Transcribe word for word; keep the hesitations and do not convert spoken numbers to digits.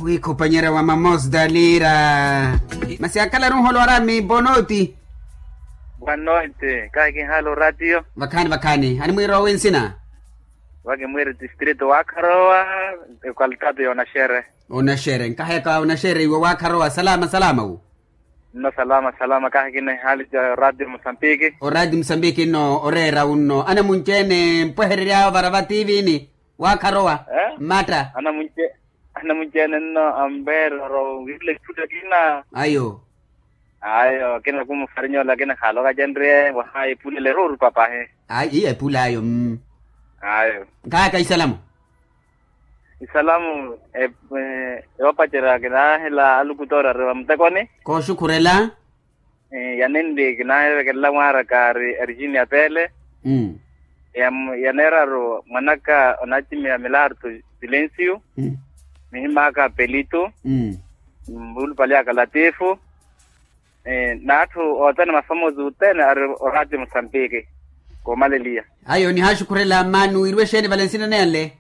Wiikhupanyerya wa mamostalira. Masi akhala runholo arami bonoti. Boa noite, kahi kinhala oratiyo. Vakhaani vakhaani animwiira owi nsina? Vakimwiiri distrito waakharowa. Ekwalitato ya onaxere. Onaxere nkaheka onaxere iwe waakharowa salama salama wu. Nno salama salama kahi kina ihaali ja radio mosambiki. Oradio mosambiki nno oreera unno anamunci-ene mpweherery'awe ovara va tiivini. Waakharowa mmatta. Anamunci-ene nno ampeererya owirela epula kina. Ayo. Ayo kina kumufarinya ole akina khaaloka acenrye waha epula ele eruurupa pahi. Ayi iya epula ayo mm. Ayo. Nkaaka isalamu. Isalamu. Yoopacerya kinaahela alukutoori ari vamutekoni. Kooxukhurela. Yanenli kinaahivekelela mwaaraka ari erigini ya pele. Ya neeraru mwanaka onaacimiha milarto. Silencio. Mihim'aka pelito. Mvuulupale aka latifu. N'atthu othene mafamosi othene ari oraati musambiki. Koomaleliya. Ayo nihaaxukhurela mmaani wiiriwe exeeni vale nsina nele.